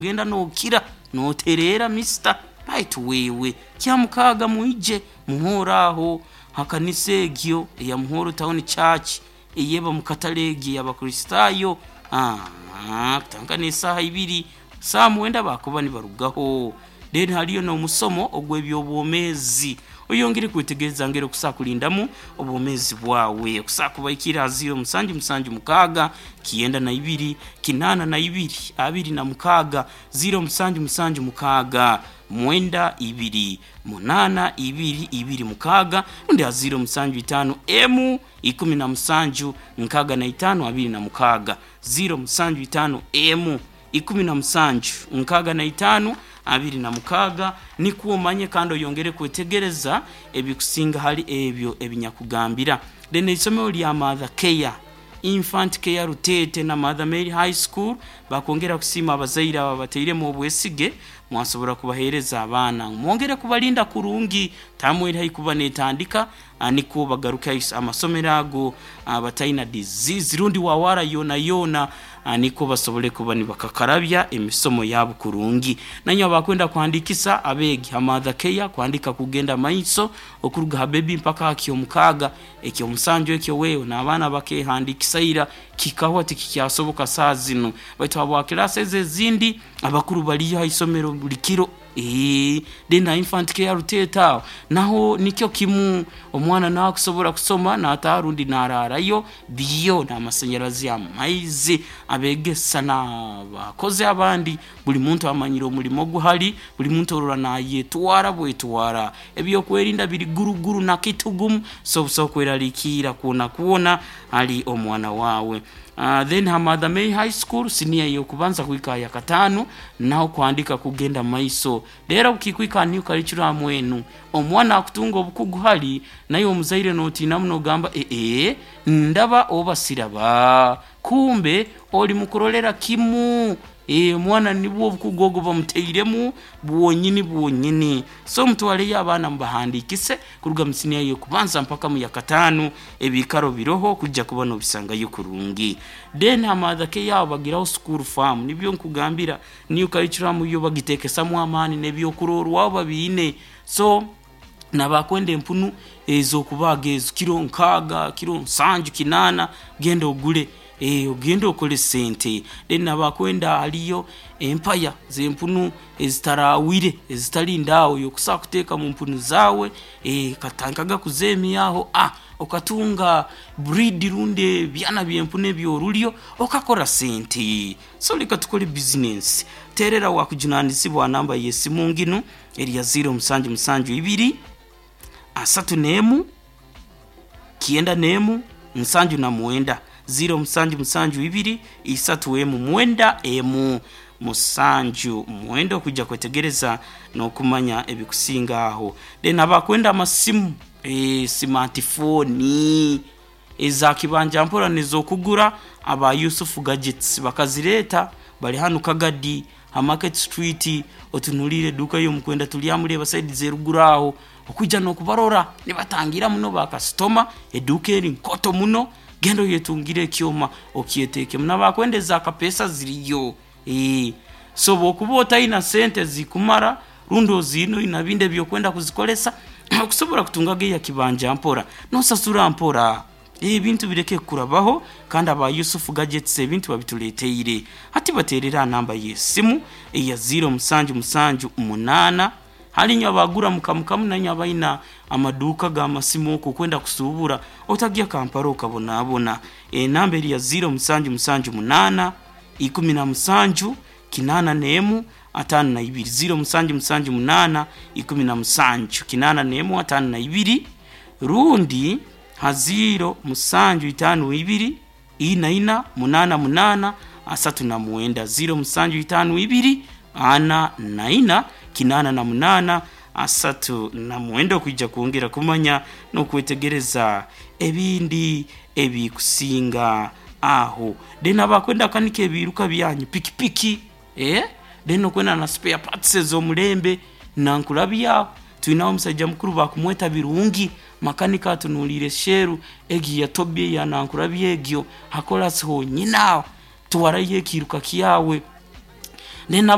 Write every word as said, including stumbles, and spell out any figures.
Genda nokira noterera mister baitu wewe kyamukaaga mwije muhoro aho hakanisa egyo eya Muhoro Town Church eyeba mukatale egyo y'Abakristaayo. Ah, kutandika n'esaaha ibiri saa mwenda bakuba nibarugaho. Then haliyo n'omusomo ogw'ebyobwomeezi, oyongere kwetegereza ngeri okusobola kulindamu obwomeezi bwawe. Okusobola kubaikira ha ziro musanju musanju mukaaga kyenda na ibiri kinaana na ibiri abiri na mukaaga, ziro musanju musanju mukaaga mwenda ibiri munaana ibiri ibiri mukaaga, rundi ha ziro musanju itaano emu ikumi na musanju nkaaga na itaano abiri na mukaaga, ziro musanju itaano emu ikumi na musanju nkaaga na itaano abiri na mukaaga. Nikwo omanye kandi oyongere kwetegereza ebikusinga hali ebyo ebinyakugambira. Then eisomero lya Mother Care, Infant Care Rutete na Mother Mary High School bakwongera kusiima abazaire abo abatairemu obwesige mwasobora kubaheereza abaana, mwongere kubalinda kurungi. Taamu eri haihi kuba neetandika, nikwo bagaruke amasomero ago bataina disease rundi wawara yoona yoona, nikwo basobole kuba nibakakarabya emisomo yabo kurungi. Nainywe abakwenda kuhandiikisa abeegi ha Mother Care, kuhandiika kugenda maiso okuruga ha bebi mpaka ha kyomukaaga, ekyomusanju ekyo wewe n'abaana bakehandiikisa ira, kikahwa tikikyasoboka saaha zinu. Baitu habwa kilaasi ezo ezindi abakuru baliyo ha isomero buli kiro. Eeh, then ha Infant Care Rutete aho naho nikyo kimu, omwana nakusobora kusoma nataaha rundi naraarayo, byo n'amasanyarazi, amaizi, abeegesa n'abakozi abandi, buli muntu amanyire omulimo gwe hali, buli muntu orora nayetwara bwetwara. Ebyokwerinda biri guruguru na kitugumu, so busaho kweraliikirra kwona kwona hali omwana waawe. Then ha Mother Mary High School siniya ey'okubanza kuhika ha yakataano, naho kuhandiika kugenda maiso. Reero obukikwika ha new curriculum enu, omwana akutunga obukugu hali, naiwe omuzaire notiina muno ogamba eeh ndaba oba siraba, kumbe oli mukurolera kimu omwana nibwo obukugu obwo bamutairemu bwonyini bwonyini. So mutwaleyo abaana mubahandiikise kuruga mu siniya ey'okubanza mpaka mu yakataano, ebiikaro biroho kwija kuba nobisangayo kurungi. Then ha Mother Care aho bagiraho school farm, nibyo nkugambira new curriculum yo bagiteekesamu amaani n'ebyokurorwaho babiine. So n'abakwenda empunu ez'okubaaga ezo kiro nkaaga, kiro nsanju, kinaana, genda ogule ogende okole sente. Then abakwenda haliyo empaya z'empunu ezitaraawire ezitali ndaawe okusobola kuteeka mu mpunu zaawe, okatandikaga kuzeemyaho okatunga breed rundi ebyana by'empunu eby'orulyo okakora sente. So leka tukole bizinensi. Teerera owakujunanizibwa ha namba y'esimu nginu eri ya ziro musanju musanju ibiri, asatu n'emu, kyenda n'emu, nsanju na mwenda. Ziro musanju musanju ibiri, isatu emu, mwenda emu, musanju mwenda okwija kwetegereza n'okumanya ebikusinga aho. Then abakwenda amasimu, smartphone eza kibanja mpora n'ez'okugura, aba Yusufu Gadgets bakazireeta bali hanu Kagadi ha Market Street, otunuliire eduuka y'omukwenda Turyamureeba saidi z'eruguru aho, okwija n'okubarora nibatangira muno bakasitoma, eduuka eri nkooto muno, genda oyetungire ekyoma okyeteekemu. N'abakwenda eza kapeesa ziriyo. So bw'okuba otaina sente zikumara rundi oziine oine bindi eby'okwenda kuzikozesa, okusobora kutungaga eya kibanja mpora, n'osasura mpora. Ebintu bireke kukurabaho kandi aba Yusufu Gadgets ebintu babituleeteire. Hati bateerere aha namba y'esimu eya ziro musanju musanju munaana, hali inywe abagura mukamukamu nainywe abaina amaduuka g'amasimu okwo okwenda kusuubura, otagya Kampala okabonabona. Enamba eri ya ziro musanju musanju munaana, ikumi na musanju, kinaana n'emu, ataano na ibiri. Ziro musanju musanju munaana, ikumi na musanju, kinaana n'emu, ataano na ibiri, rundi ha ziro musanju itaano ibiri, ina ina, munaana munaana, asatu na mwenda. Ziro musanju itaano ibiri, ana na ina, kinaana na munaana, asatu na mwenda okwija kwongera kumanya n'okwetegereza ebindi ebikusinga aho. Then abakwenda kukanika ebiiruka byanyu, pikipiki, then okwenda na spare parts ez'omulembe, nankurabyaho twinaho omusaija mukuru bakumweta Birungi, makanika atunuliire Shell egyo eya Tobi eya nankurabya egyo, ha korasi honyini aho, twarayo ekiiruka kyawe. Then.